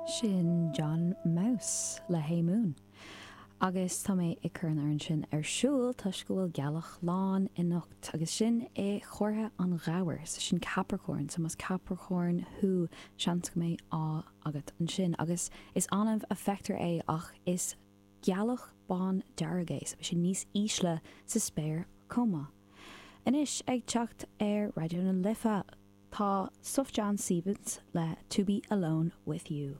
Sin John Mouse le Hey Moon. Agus tá mé ag cur an amhrán sin ar siúl toisc go bhfuil gealach lán anocht agus sin i chomhartha an ghabhair, so sin Capricorn, so más Capricorn thú seans go mbeidh ádh agat ansin. Agus is annamh a feictear é ach is gealach bán dearg é, so beidh sé níos ísle sa spéir chomh maith. Anois ag teacht ar Raidió na Life tá Sufjan Stevens le To Be Alone With You.